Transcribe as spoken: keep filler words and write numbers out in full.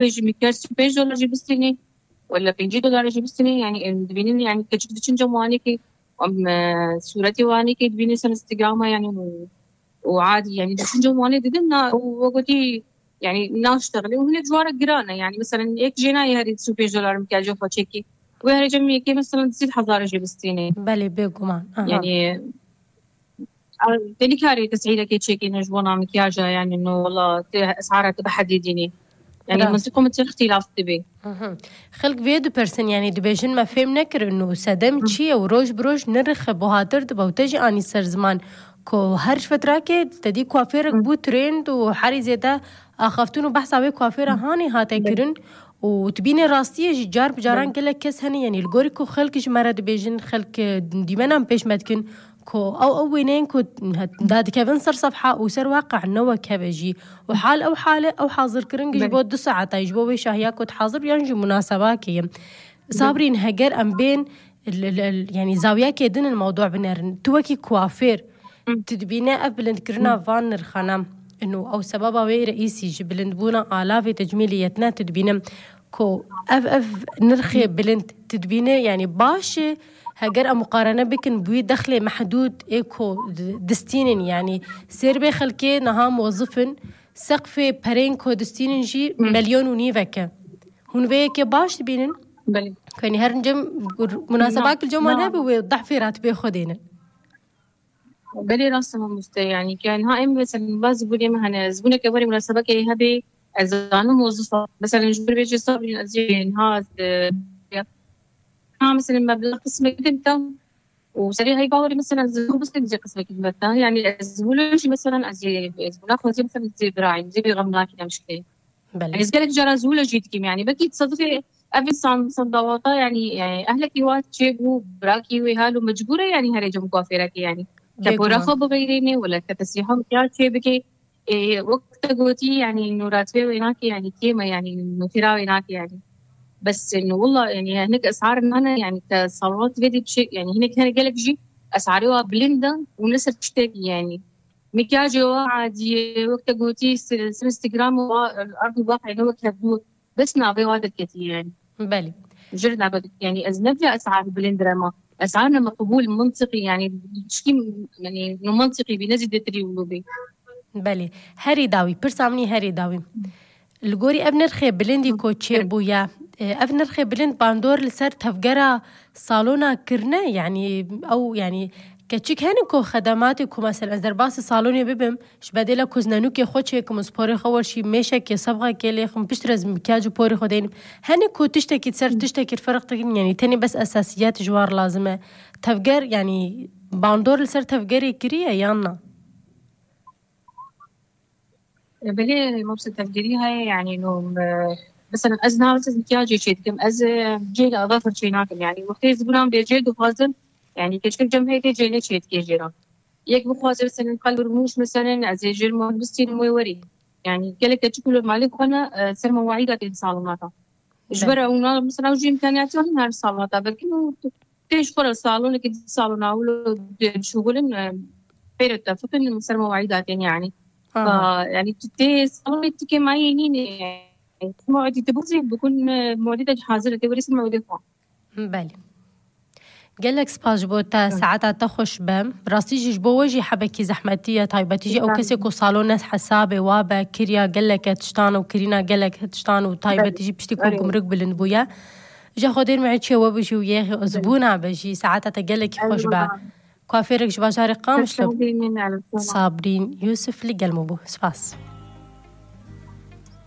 Jî mikyaj sî û pênc dolar jî bistînî, wela pêncî dolar jî bistînî, yani em dibînin, yani keçik diçin cem wanekî, em, e, sûretê wanekî dibînin ser Instagrama, yani û, û adî, yani diçin cem wanê didin, na, û we gotî, yani naştexilê û hinek ji wan re giran e, yani mesela yek jê nayê herî sî û pênc dolar mikyajê xwe çêkî. Wê herê cem yekê mesela sî hezar jê bistînê. Belê, bêguman. Aha. Yani, a, te nikarî tesîrekê çêkîne ji bona mikyaja, yani no wela te esara te bihedîdînî. Yani Rast. Mintiqo min te îxtîlaf dibe. Mhm. Xelk vê dipirsin, yani dibêjin me fêm nekirin û sedem çi ye û roj bi roj nirx buhatir dibe û te jî anî ser ziman ku her ji fetrakê te dî kuafêrek bû trend û herî zêde axaftin û behsa wê kuafêra hanê hate kirin û dibînê rastiyê jî car bi caran gelek kes hene, yani li gorî ku xelk ji me re dibêjin, xelk, e, dîmenan pêş me dikin ku ew, ew wêneyên ku dadikevin ser sefha û ser waqe ne wek hev e jî. Û hal ew hal e, ew hazirkirin ji bo du saeta, ji bo wê şahiya ku dihazir yan jî munasebakê ye. Sabrîn, heger em bên l-, l-, l-, yani zawiyekê din in mewdu binerin. Tu wekî kuafêr, tu dibîne ev bilindkirina van nirxana ino ew sebeba wê reîsî ji bilindbûna alavê tecmîliyetine tu dibîne ku ev, ev nirxê bilind tu dibîne, yani baş e, heger em muqarene bikin bi wî dexlê mehdûd ê ku di-, distînin, yani sêr bê xelkê niha mozif in, seqfê perên ku distînin jî milyon û nîvek e. Hûn vê yekê baş dibînin? Belê. Ku, yani, her cem, munasebak li cem wan hebe wê dehfê ratibê xwe dênin. Belê, rast e mamoste, yani, ki, yani, ha, em, mesela, bazı zibûnê me hene, zibûneke warê munasebekê hebe, ez zanim mozif e. Mesela, ji ber vê jê Sabrîn, ez jê niha, ez, e, ha, mesela, meblağ qismek din tam, û serê heyva warê, mesela, zibûn bistên jê qismek din tam. Yani, ez zibûn jî, mesela, ez jê, ez zibûna xwe jî, mesela, ez jê birayim, jê bê xem nakî em şikê. Belê. Ez gelek cara zûle jî dikim, yani belkî tesadufê ev insan, insan dawata, yani, yani ehlekî wa çêbû, birakî wê hal û mecbûr e, yani herê cem kuafêrekê, yani. Ke pora xwe bixeyrênê, wela ke tesrîha mikyaj çê bike. Ê, wek te gotî, yani, no ratibê wê nake, yani, kêm e, yani, no têra wê nake, yani. Bes, no, wela, yani, hinek esar nane, yani, ke salonat vê dî çi, yani, hinek hene gelek jî esarê wa bilind e û ne ser tiştekî, yani. Mikyajê wa adî ye, wek te gotî, si-, si Instagram wa, erd û bax, yani, wek hevdû. Bes navê wa derketî, yani. Belê. Jir navê derketî, yani, ez ne vê esar bilind re ma. Esar ne meqbûl, mintiqî, yani, çikî, yani, no mintiqî bî, ne zêdetirî wilo bî. Belê. Herî dawî, pirsa min î herî dawî. Li gorî ev nirxê bilindî ku çêbûye, e, ev nirxê bilind bandor li ser tevgera salona kirine, yani ew, yani keçik hene ku xedematê ku mesela ez derbasî salonê bibim, ji bedêla ku ez nenûkê xwe çêkim û sporê xwe werşî mêşekê sebxekê lêxim, piştre ez mikyaj û porê xwe deynim. Hene ku tiştekî ser tiştekî ferq dikin, yani tenê bes esasiyet ji wan lazim e. Tevger, yani bandor li ser tevgerê kiriye yan na? E, belê, mobse tevgerî heye, yani, no, e, mesela ez niha ez mikyajê çê dikim, ez, e, cêl ava firçê nakim, yani, wextê ez bûnam bê cêl dixwazim, yani, keçik cem heytê cêlê çê dikê jê re. Yek bixwaze, mesela, qal rûmûş, mesela, ez ê jêr muhebistî wê werî. Yani, gelek keçik li malê xwe ne, e, ser mewahîda tên salonata. Ji ber ew na, mesela, ew jî imkaniyatê hene her salonata. Belkî û tê ji xwe re salonekî di salona wilo dişuxulin, e, pêre tefiqin ser mewahîda tên, yani. Aha. Fa, yani, tu tê salonê tu kêmayî nîne. Mewedî tu bizî bikun, e, mewedî te hazir e, tê werî ser mewedê xwe. Belê. Gelek spas ji bo te, saeta te xweş be. Rastî jî ji bo we jî hebekî zehmetî ye, taybetî jî ew kesê ku salon ne hesabê wa be, kiriya gelek tiştan û kirîna gelek tiştan û taybetî jî piştî ku gumruk bilind bûye. Ji Xwedê me çê we bijî û yê zibûna be jî, saeta te gelekî xweş be. Kuafêrek ji bajarê Qamişlo. Sabrîn Yusuf li gel me bû. Spas.